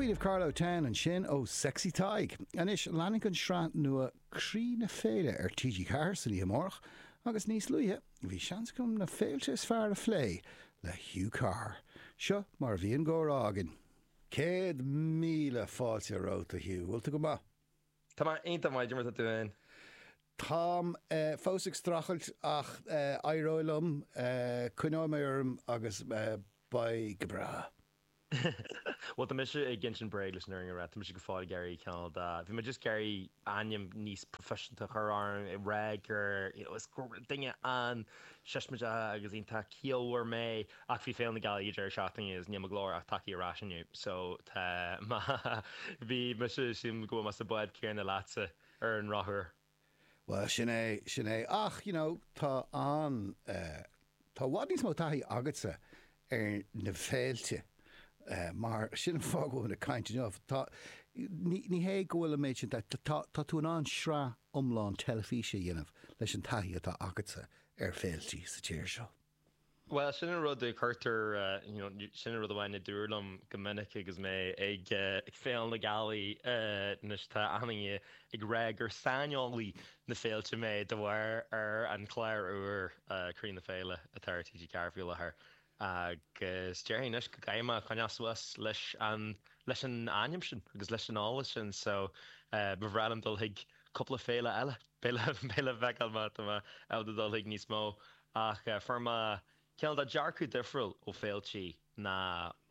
Queen of Carlow Town ansin ó Sexy Tadhg. Anois, leanfaidh an sraith nua Croí na Féile ar TG4 san oíche amárach agus níos luaithe bhí seans agam na féilte is fearr a phlé le Hugh Carr. Seo mar a bhí an gcomhrá againn. 100,000 fáilte romhat, a Hugh. Bhfuil tú go maith? Tá mé iontach maith, cad é mar atá tú féin? Táim fós ag streachailt ach éireoidh liom, coinneoidh mé orm agus beidh go breá. Bhuel, tá mise ag insint bréag leis an fhírinne a rá, tá mise go fóill ag iarraidh cineál de, bhí mé just ag iarraidh ainm níos proifisiúnta a chur orm, ag rá gur, you know, is duine an-siosmaideach agus iontach ciallmhar mé ach bhí Féile na Gealaí ag deireadh seachtaine agus níl mo ghlór ach tagtha ar ais inniu so tá mé, bhí mise, sílim go bhfuil mé sa bhád céanna leatsa ar an ndrochuair. Bhuel, sin é, sin é. Ach, you know, tá an, eh, tá i bhfad níos mó taithí agatsa ar na féilte, eh, mar sin an fáth go bhfuil muid ag caint inniu. Tá, ní, ní hé go bhfuil an méid sin, tá, tá tú in ann sraith iomlán teilifíse a dhéanamh leis an taithí atá agatsa ar féiltí sa tír seo. Bhuel, sin an rud a cuirtear, you know, sin an rud amháin a dúradh liom go minic agus mé ag Féile na Gealaí anois, tá achan duine ag rá gur saineolaí na féilte mé de bharr ar an chlár úr Croí na Féile atá ar TG4 faoi láthair. Agus déarfainn anois go gcaithfidh mé coinneáil suas leis an, leis an ainm sin agus leis an eolas sin so ba bhreá liom dul chuig cúpla féile eile, beidh le feiceáil má tá mé ábalta dul chuig níos mó. Ach fuair mé cineál de dearcadh difriúil ó féiltí ná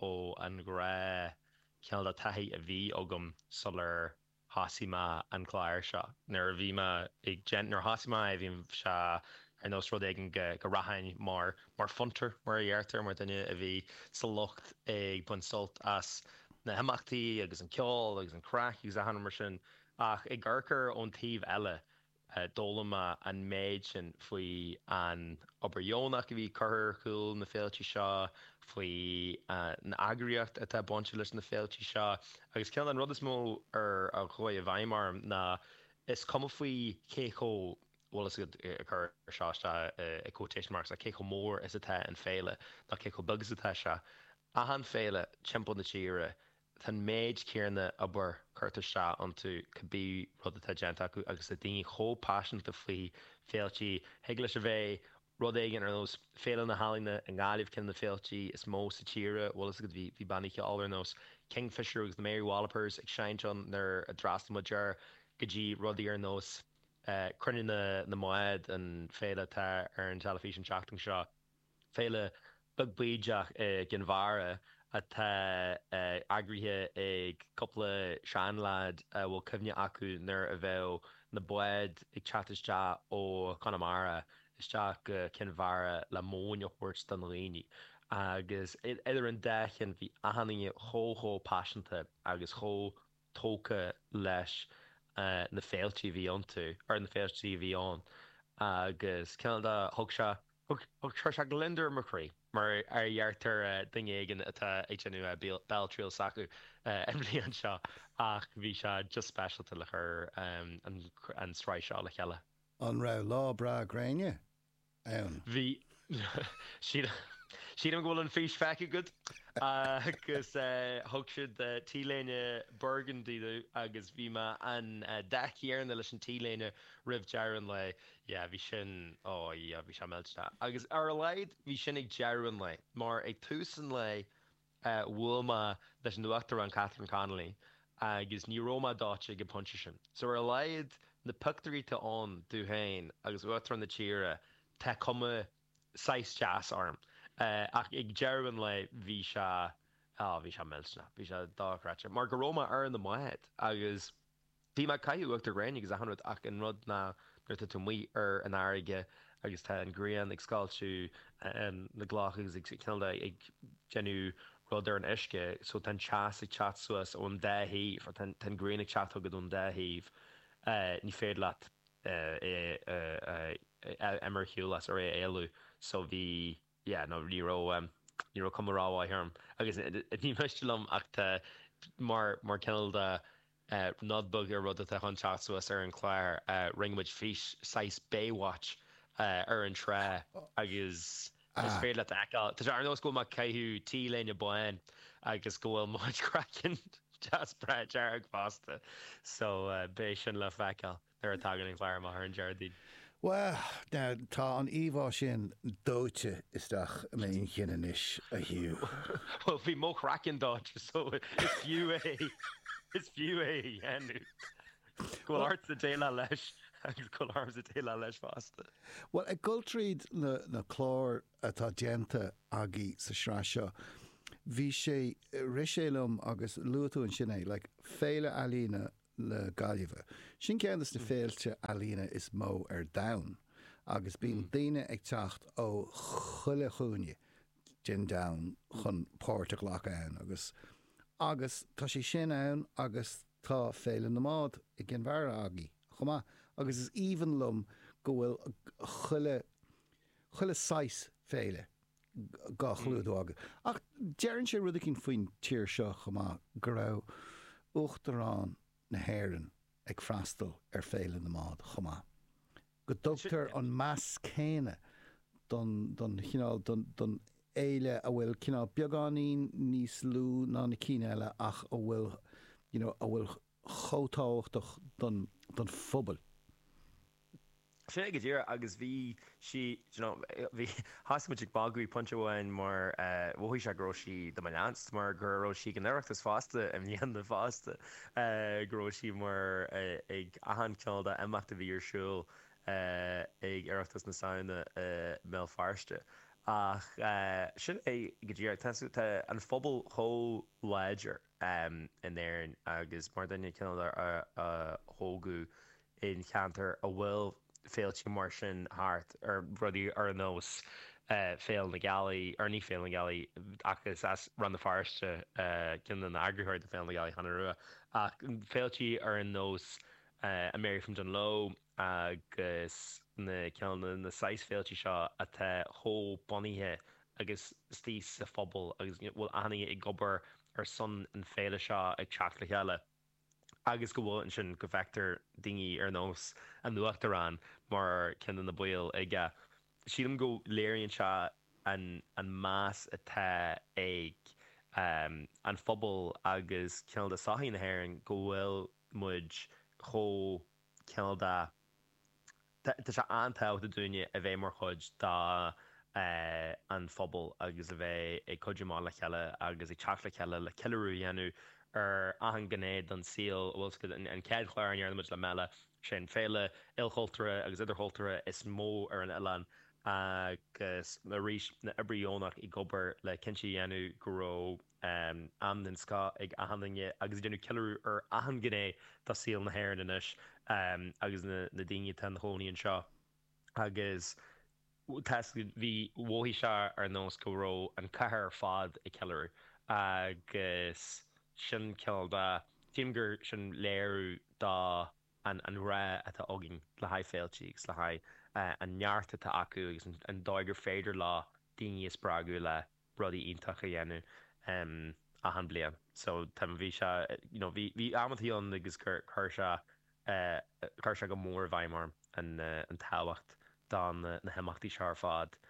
ó an ghnáth cineál de taithí a bhí agam sular thosaigh mé an clár seo. Nuair a bhí mé ag déanamh, nuair a thosaigh mé é bhí sé ar nós rud éigin go go rachainn mar mar fiontar mar a dheirtear, mar duine a bhí sa lucht ag baint sult as na himeachtaí agus an ceol agus an craic agus achan rud mar sin. Ach ag amharc air ón taobh eile, D'fhoghlaim mé an méid sin faoi an obair dheonach a bhí curtha ar chúl na féiltí seo, faoi an eagraíocht atá bainte leis na féiltí seo agus cineál an rud is mó ar a chuaigh i bhfeidhm orm ná is cuma faoi cé chomh, bhfuil fhios agat, ag cur seo isteach i quotation marks, cé chomh mór is atá an féile nó cé chomh beag is atá sé. Achan féile timpeall na tíre Tá an méid céanna obair curtha isteach iontu cibé rud atá déanta acu agus tá daoine chomh paiseanta faoi féiltí. Thig leis a bheith rud éigin ar nós Féile na hEalaíne i nGaillimh, ceann de na féiltí is mó sa tír, bhfuil fhios agat, bhí bhí bannaí ceoil ar nós Kingfisher agus the Mary Wallopers ag seinnt ann nuair a d'fhreastail muid air, go dtí rudaí ar nós Cruinniú na mBád, an féile atá ar an teilifís an tseachtain seo. Féile beag bídeach i gCinn Mhara atá eagraithe ag cúpla seanleaid a bhfuil cuimhne acu nuair a bheadh na báid ag teacht isteach ó Chonamara isteach go Cinn Mhara le móin a thabhairt do na daoine. Agus idir an dá cheann bhí achan duine chomh chomh paiseanta agus chomh tógtha leis na féiltí a bhí iontu, ar na féiltí a bhí ann agus cineál de thug sé, thug, chuir sé gliondar ar mo chroí, mar a dheirtear duine éigin atá ag déanamh béaltriail s'acu an bhliain seo ach bhí sé just speisialta le cur an tsraith seo le chéile. An raibh lá breá gréine? ann. Bhí. Sílim go bhfuil an fís feicthe agat agus thug siad T-léine burgundy domh agus bhí mé an dath céanna leis an T-léine roimh deireadh an lae. Yeah, bhí sin, oh yeah, bhí sé millteanach. Agus ar a laghad bhí sin ag deireadh an lae mar ag tús an lae bhuail mé leis an Uachtarán Catherine Connolly agus ní raibh mé dóite ag an bpointe sin. So ar a laghad na pictiúirí atá ann domh féin agus Uachtarán na tíre tá cuma saghas deas orm. Ach ag deireadh an lae bhí sé, á bhí sé millteanach, bhí sé dochreidte mar go raibh mé ar na báid agus Bhí mé ag caitheamh uachtar gréine agus achan rud ach an rud ná nuair atá tú amuigh ar an fharraige agus tá an ghrian ag scoilteadh na gcloch agus ag cineál de ag déanamh rud ar an uisce so tá an teas ag teacht suas ón dá thaobh or tá an ghrian ag teacht chugat ón dá thaobh ní féidir leat é a imir ar shiúl as or é a éalú so bhí yeah no ní raibh ní raibh cuma rómhaith orm agus ní miste liom ach tá mar mar cineál de nod beag ar rud atá chun teacht suas ar an chlár rinne muid fís saghas Baywatch ar an trá agus is féidir leat a fheiceáil tá sé ar nós go bhfuil mé ag caitheamh T-léine bán agus go bhfuil mo chuid craiceann. deas breá dearg fosta so beidh sin le feiceáil nuair a tagann an clár amach ar an Déardaoin. Bhuel, now, tá an íomhá sin dóite isteach i m'inchinn anois, a Hugh. Bhuel, bhí mo chraiceann dóite so is fiú é, is fiú é a dhéanamh. Go bhfuil ortsa déileáil leis agus go bhfuil ormsa déileáil leis fosta. Bhuel, ag dul tríd na cláir atá déanta agaibh sa sraith seo, bhí sé, rith sé liom agus luaigh tú ansin é, like, Féile Ealaíne na Gaillimhe. Sin ceann de na féilte ealaíne is mó ar domhan agus bíonn daoine ag teacht ó chuile chúinne den domhan chun páirt a ghlacadh ann agus agus tá sé sin ann agus tá Féile na mBád i gCinn Mhara agaibh chomh maith agus is aoibhinn liom go bhfuil chuile chuile saghas féile dhá chlúdú agaibh. Ach deireann sé rud eicínt faoin tír seo chomh maith, go raibh Uachtarán na hÉireann ag freastal ar Féile na mBád chomh maith. Go dtugtar an meas céanna don, don chineál, don, don fhéile a bhfuil cineál beagáinín níos lú ná na cinn eile ach a bhfuil, you know, a bhfuil chomh tábhachtach don, don phobal. Sin é go díreach agus bhí sí, do you know, bhí, thosaigh muid ag magadh pointe amháin mar mhothaigh sé go raibh sí do mo leanst mar go raibh sí ag an Oireachtas fosta i mbliana fosta, go raibh sí mar ag achan cineál de imeacht a bhí ar siúl ag Oireachtas na Samhna i mBéal Feirste. Ach sin é go díreach, tá, tá an phobal chomh láidir in Éirinn agus mar duine cineál a thógadh in cheantar a bhfuil féilte mar sin thart, ar rudaí ar nós Féile na Gealaí, or ní Féile na Gealaí ach is as Rann na Feirste ceann de na eagraitheoirí de Féile na Gealaí, Hannah Rua, ach féilte ar nós an Mary from Dungloe agus na cineál na saghas féilte seo atá chomh bunaithe agus istigh sa phobal agus bhfuil achan duine ag obair ar son an féile seo ag teacht le chéile. agus go bhfuil ansin go bhfeictear daoine ar nós an Uachtaráin mar ceann de na baill aige. Sílim go léiríonn sé an an meas atá ag an phobal agus cineál de sochaí na hÉireann go bhfuil muid chomh cineál de Tá sé an-tábhachtach dúinne a bheith mar chuid de an phobal agus a bheith ag cuidiú amach le chéile agus ag teacht le chéile le ceiliúradh a dhéanamh ar achan ghné den saol. Bhfuil 's agat, an chéad chlár a ndearna muid le Mela, sé an féile ilchultúrtha agus idirchultúrtha is mó ar an oileán agus arís na oibrithe dheonach ag obair le cinnte a dhéanamh go raibh am den scoth ag achan duine agus ag déanamh ceiliúradh ar achan ghné de saol na hÉireann anois agus na daoine atá ina chónaí anseo agus tá bhí mhothaigh sé ar nós go raibh an cathair ar fad ag ceiliúradh agus sin cineál de sílim gur sin léiriú do an ghrá atá againn le haghaidh féilte agus le haghaidh an neart atá acu agus an dóigh gur féidir leo daoine a spreagadh le rudaí iontacha a dhéanamh achan bliain. So tá bhí sé you know bhí bhí amantaí ann agus gur chuir sé chuir sé go mór i bhfeidhm orm an an tábhacht do na na himeachtaí seo ar fad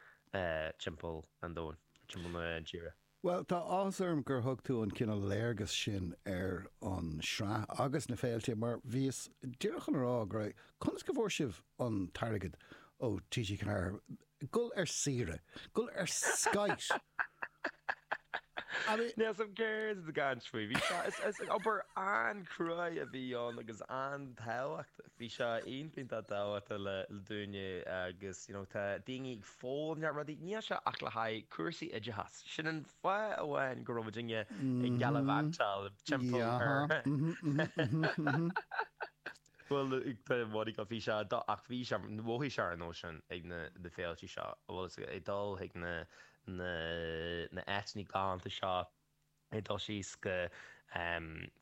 timpeall an domhain, timpeall na tíre. Bhuel, tá áthas orm gur thug tú an cineál léargas sin ar an sraith agus na féilte mar bhíos díreach chun a rá go raibh, conas go bhfuair sibh an t-airgead ó TG4 Gul ar saoire. Gul ar skite. I mean. Níl 's a'm céard atá tú ag caint faoi. Bhí sé, is, is obair an-chruaidh a bhí ann agus an-tábhachtach. Bhí sé iontach tábhachtach le, le dúinne agus you know tá daoine ag foghlaim neart rudaí. Níl sé ach le haghaidh cúrsaí oideachais. Sin an fáth amháin go raibh muidinne ag gallivant-áil timpeall ar. Bhuel, tá Monica, bhí sé, ach bhí sé, mhothaigh sé ar an nós sin ag na na féiltí seo, bhfuil fhios agat, ag dul chuig na na na áiteanna galánta seo, ag dul síos go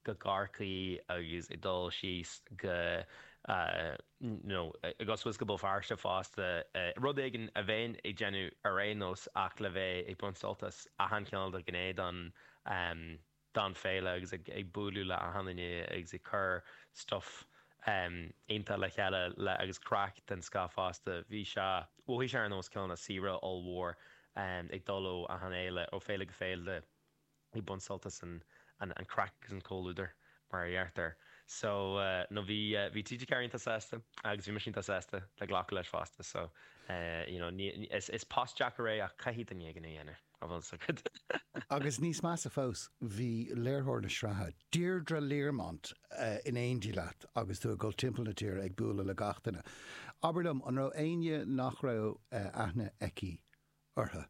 go Corcaigh agus ag dul síos go you know, ag dul suas go Béal Feirste fosta, rud éigin a bheinn ag déanamh ar aon nós ach le bheith ag baint sult as achan chineál de ghné den don féile agus ag bualadh le achan duine agus ag cur stuff iontach le chéile le agus craic den scoth fosta. Bhí sé, mhothaigh sé ar nós cineál saoire ollmhór ag dul ó achan fhéile, ó féile go féile. Ag baint sult as an craic agus an comhluadar, mar a deirtear. So, no bhí, bhí TG4 iontach sásta agus bhí mise iontach sásta le glacadh leis fosta. So, you know, ní, is, is post deacair é ach caithfidh duine éigin é a dhéanamh, an bhfuil fhios agat. Agus níos measa fós, bhí léiritheoir na sraithe, Deirdre Learmont, in éindí leat agus tú ag dul timpeall na tíre ag bualadh le gach duine. Abair liom, an raibh éinne nach raibh aithne aici orthu?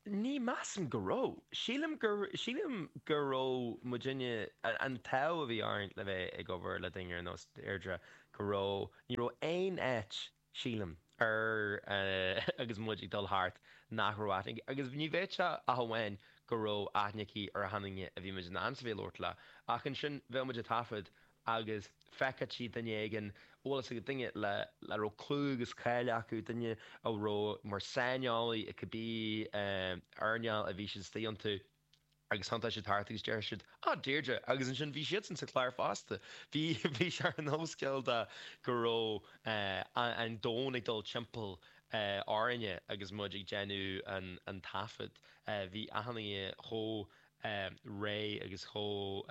Ní measaim go raibh. Sílim gur, sílim go raibh muidinne, an t-ádh a bhí orainn le bheith ag obair le duine ar nós Deirdre, go raibh, ní raibh aon áit, sílim, ar, agus muid ag dul thart, nach raibh aithne aici. Agus ní bheadh sé ach amháin go raibh aithne aici ar achan duine a bhí muid in ainm is a bheith ag labhairt leo. Ach ansin bheadh muid ag taifead agus feicfeadh sí duine éigin, bhfuil fhios agat, duine le a raibh clú agus cáil acu, duine a raibh mar saineolaí i cibé earnáil a bhí siad istigh iontu agus thiontódh siad thart agus déarfadh siad, 'Á, Deirdre! Agus ansin bhí siadsan sa chlár fosta. Bhí, bhí sé ar nós cineál de go raibh an domhan ag dul timpeall orainne agus muid ag déanamh an taifead. Bhí achan duine chomh réidh agus chomh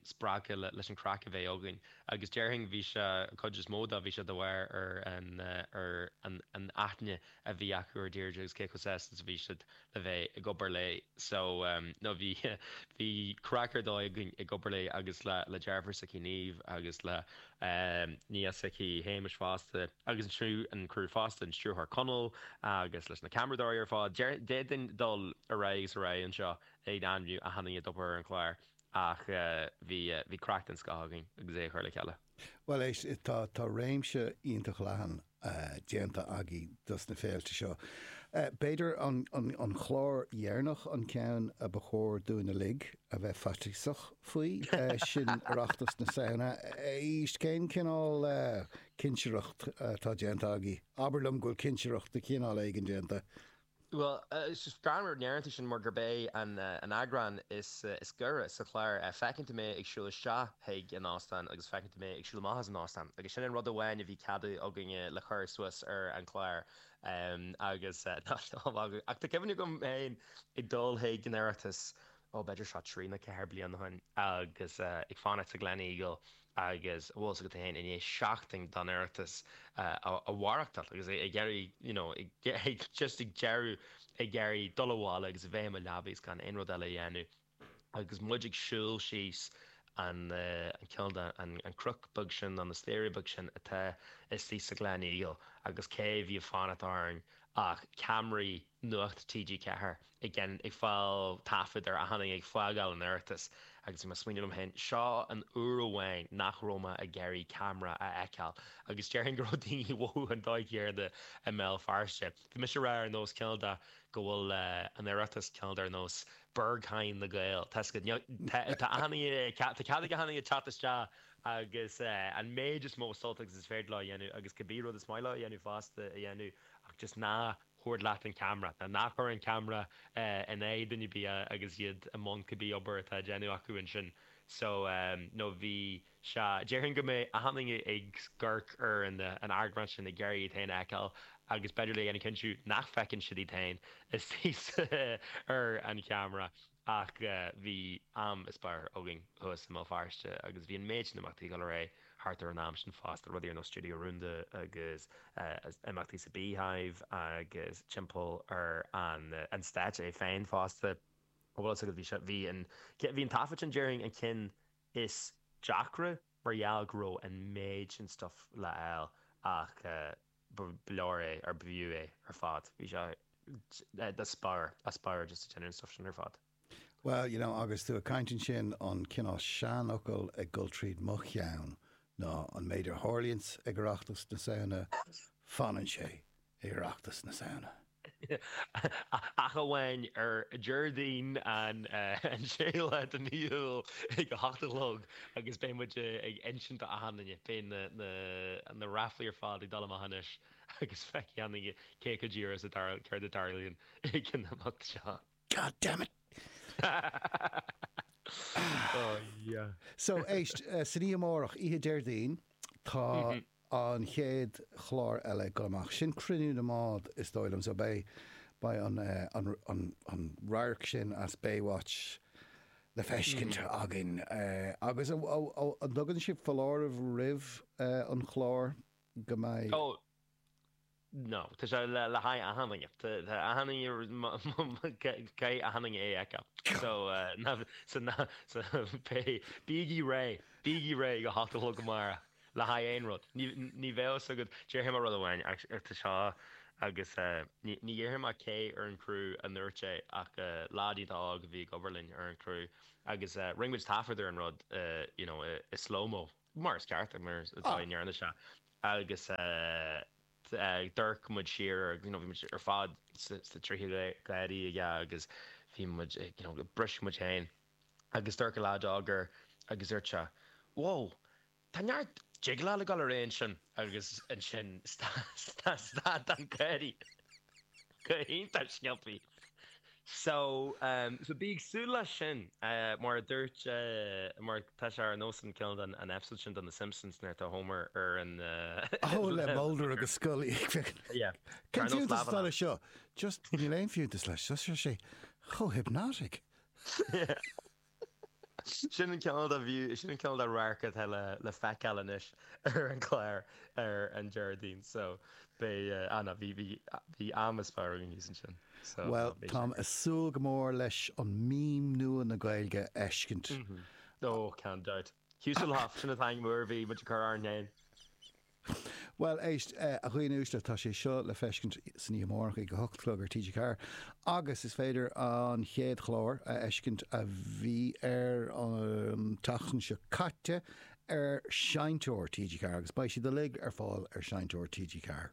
spreagtha leis an craic a bheith againn agus déarfainn bhí sé, an chuid is mó de, bhí sé de bharr ar an ar an aithne a bhí acu ar Deirdre agus cé chomh sásta is a bhí siad le bheith ag obair léi. So no bhí bhí craic ar dóigh againn ag obair léi agus le le deirfiúr s'aici Niamh agus le nia s'aici Shéamus fosta agus an an criú fosta, an stiúrthóir Conall agus leis na ceamaradóirí ar fad. D'fhéadfainn dul ar aghaidh agus ar aghaidh anseo ag ainmniú achan duine a d'obair ar an chlár ach bhí bhí craic den scoth againn agus é a chur le chéile. Bhuel éist, tá tá réimse iontach leathan déanta agaibh dos na féilte seo. B'fhéidir an an an clár dheireanach an ceann a ba chóir dúinn uilig a bheith faitíosach faoi, sin Oireachtas na Samhna. Éist, cén cineál cinsireacht atá déanta agaibh? Abair liom go bhfuil cinsireacht de chineál éigin déanta. Bhuel, is greannmhar go ndeireann tú sin mar gurb é an eagrán is gaire sa chlár. Feiceann tú mé ag siúl isteach chuig an óstán agus feiceann tú mé ag siúl amach as an óstán agus sin an rud amháin a bhí ceadaithe againne le cur suas ar an chlár agus ach tá cuimhne agam féin ag dul chuig an Oireachtas, ó b'fhéidir seo trí nó ceathair bliana ó shin agus ag fanacht sa Gleneagle agus bhfuil fhios agat féin i ndiaidh seachtain den Oireachtas a mhaireachtáil agus ag iarraidh you know ag just ag deireadh ag iarraidh dul abhaile agus a bheith i mo leabaidh is gan aon rud eile a dhéanamh agus muid ag siúl síos an an cineál de an an cnoc beag sin nó na staighrí beag sin atá istigh sa Gleneagle agus cé a bhí ag fanacht orainn ach ceamaraí Nuacht TG4 ag ag fáil taifead ar achan duine ag fágáil an Oireachtais agus bhí mé ag smaoineamh liom féin, seo an uair amháin nach raibh mé ag iarraidh ceamara a fheiceáil agus déarfainn go raibh daoine ag mothú an dóigh chéanna i mBéal Feirste. Bhí mise ag rá ar nós cineál de go bhfuil an Oireachtas cineál de ar nós Berghain na Gael. Tá tá achan duine, tá cead ag achan duine teacht isteach agus an méid is mó sult agus is féidir leo a dhéanamh agus cibé rud is maith leo a dhéanamh fosta a dhéanamh ach just ná tabhair leat an ceamara, ná ná cuir an ceamara in aghaidh duine ar bith agus iad i mbun cibé obair atá á déanamh acu ansin. So, no bhí sé, déarfainn go mbeidh achan duine ag amharc ar an eagrán sin ag iarraidh iad féin a fheiceáil agus b'fhéidir le dhéanamh cinntiú nach bhfeiceann siad iad féin istigh ar an cheamara. Ach bhí am is barr againn thuas i mBéal Feirste agus bhí an méid sin imeachtaí ag dul ar aghaidh thart ar an am sin fosta, rudaí ar nós Stiúideo Rúnda agus imeachtaí sa Beehive agus timpeall ar an stáitse é féin fosta. Bhfuil fhios agat, bhí sé, bhí an, bhí an taifead sin déarfainn an ceann is deacra mar gheall go raibh an méid sin stuff le fháil ach ba leor é, or b'fhiú é ar fad. Bhí sé as barr, as barr just ag déanamh an stuff sin ar fad. Well, you know, agus tú ag caint ansin, an cineál seanfhocal ag dul tríd mo cheann ná an méid a tharlaíonns ag Oireachtas na Samhna, fanann sé ag Oireachtas na Samhna. Ach amháin ar Déardaoin an séú lá de mhí Iúil ag a hocht a chlog agus beidh muid ag insint do achan duine, beidh na ráflaí ar fad ag dul amach anois agus feicfidh achan duine cé chomh díreach is a céard a tarlaíonn ag an imeacht seo. God damn it! Oh yeah. So, éist, san oíche amárach, oíche Déardaoin, tá an chéad chlár eile ag dul amach. Sin Cruinniú na mBád, is dóigh liom. So beidh, beidh an, an, an, an radharc sin as Baywatch. le feiscint againn. Agus an dtugann sibh foláireamh roimh an chlár go mbeidh. Oh, no. Tá sé le haghaidh achan duine. Tá achan duine, caithfidh achan duine é a fheiceáil. So, so, so, bígí réidh, bígí réidh ag a hocht a chlog amárach. le haghaidh aon rud. Ní bheadh fhios agat, déarfaidh mé rud amháin, tá seo agus ní dhéarfaidh mé cé ar an gcriú a ndúirt é ach leaid iontach óg a bhí ag obair linn ar an chriú agus rinne muid taifead ar an rud you know i slow-mo, mar is ceart, mar atá i ndearna sé agus d'amharc muid siar ar you know bhí muid ar fad sna tríochaidí aige agus bhí muid you know briseadh muid féin agus d'amharc an leaid óg air agus dúirt sé, Whoa! Tá neart jigeáil ag dul ar aghaidh ansin agus ansin stad an gáirí go hiontach sciobthaí. So, so bí ag súil leis sin, mar a dúirt, mar tá sé ar nós an cineál den, an episode sin de na Simpsons nuair atá Homer ar an. Oh, le Mulder agus Scully. Yeah. Cén fiúntas atá leis seo? Just, níl aon fiúntas leis, tá sé chomh hypnotic. Yeah. Sin an cineál de view, sin an cineál de radharc atá le le feiceáil anois ar an chlár ar an Déardaoin so beidh, ah no, bhí, bhí, bhí am is fearr againn thíos ansin so Bhuel, beidh sé táim ag súil go mór leis an meme nua na Gaeilge a fheiscint. Oh, gan dabht. Hugh-Sulhoff, sin an t-ainm úr a bhí muid ag cur orainn féin. Bhuel, éist, a dhaoine uaisle, tá sé seo le feiscint san oíche amárach ag a hocht a chlog ar TG4 agus is féidir an chéad chlár a fheiscint a bhí ar an tseachtain seo caite ar Seinnteoir TG4 agus beidh siad uilig ar fáil ar Seinnteoir TG4.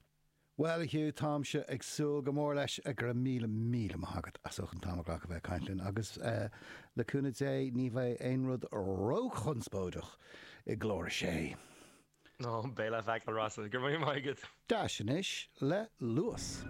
Bhuel, a Hugh, táimse ag súil go mór leis. Go raibh míle, míle maith agat as ucht an t-am a ghlacadh bheith ag caint linn agus le cúnamh Dé ní bheidh aon rud róchonspóideach i gclár a sé. Ó, beidh le feiceáil, Rossa. Go raibh míle maith agat. Dash anois le Luas.